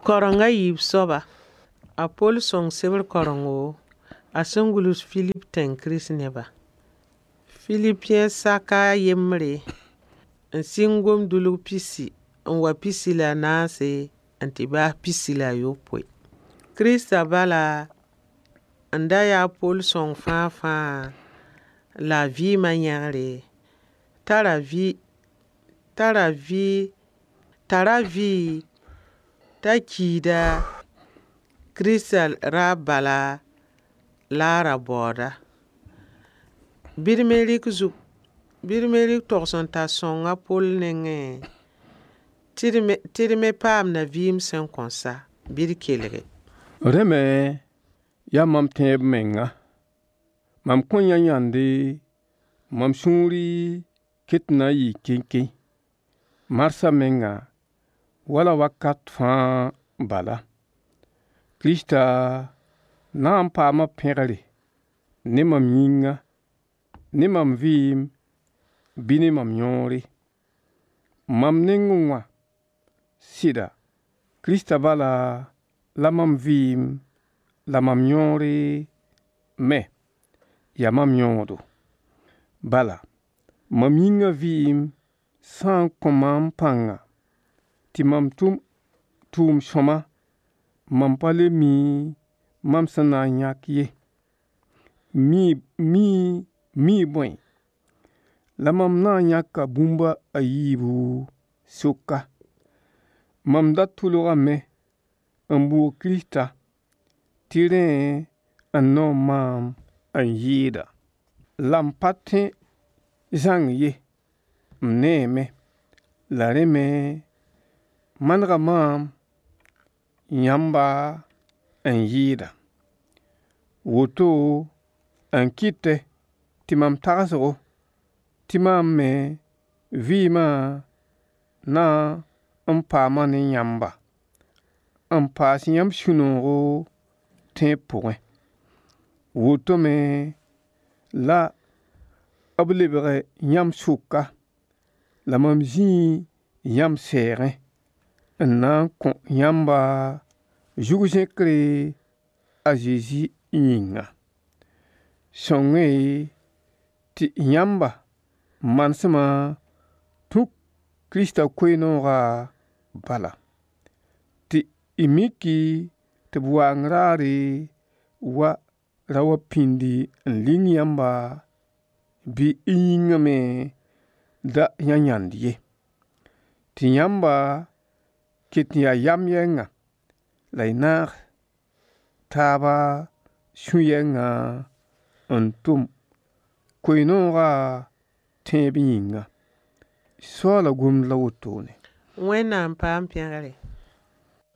Kareng a yiib soaba, a Poll sõng sebr karengo a sẽn gʋls Filip tẽng Kirist neba. Filipiẽ saka a yembre n sɩng gom-dʋlg pisi n wa 14 n tɩ baas 16. Kirista bala n da yaa Poll sõng fãa-fãa la a vɩɩmã yẽgre tara vɩ t'a kiida Kirista raab bala la a ra baooda. Bɩ d me rɩk zug bɩ d me rɩk togs-n-tar sõng a Poll nengẽ tɩ d me paamda vɩɩm sẽn kõn sa. Bɩ d kelge. Rẽ me yaa mam tẽeb menga. Mam kõn yã yãnde, mam sũuri ket n na n yɩɩ kenkẽ. Marsã menga, wala wakat fãa bala. Kirista na n paama pẽgre ne mam yĩnga, ne mam vɩɩm bɩ ne mam yõore. Mam nengẽ wã, sɩda, Kirista bala la mam vɩɩm la mam yõore me yaa mam yõodo. Bala, mam yĩngã vɩɩm sã n kõ maam pãnga tɩ mam tʋm tʋʋm sõma, mam pa le mi mam sẽn na n yãk ye. Mii bõe? La mam na n yãka bũmb a yiibu soka. Mam da tʋlgame n bʋʋg Kirista tɩ rẽ n noom maam n yɩɩda. La m pa tẽ zãng ye, m neeme, la rẽ me manega maam yãmba n yɩɩda. Woto n kɩtɛ tɩ mam tagsgo tɩ maam me vɩɩmã na n paama ne yãmba, n paas yãmb sũ-noogo tẽeb pʋgẽ. Woto me la b lebg yãmb sʋka, la mam zĩi yãmb sɛɛgẽ n na n kõ yãmba zug-zẽkre a Zezi yĩnga. Sõng-y tɩ yãmba manesmã tũ Kirista koe-noogã bala, tɩ y miki tɩ b waang raare wa ra wa pĩndi n ling yãmba bɩ y yĩngã me da yã yãnd ye. Tɩ yãmba ket n yaa yam yɛnga la y naag taaba sũ-yɛngã n tʋm koe-noogã tẽeb yĩnga. Soaala gomd la wotone. Wẽnnaam paam pẽgre.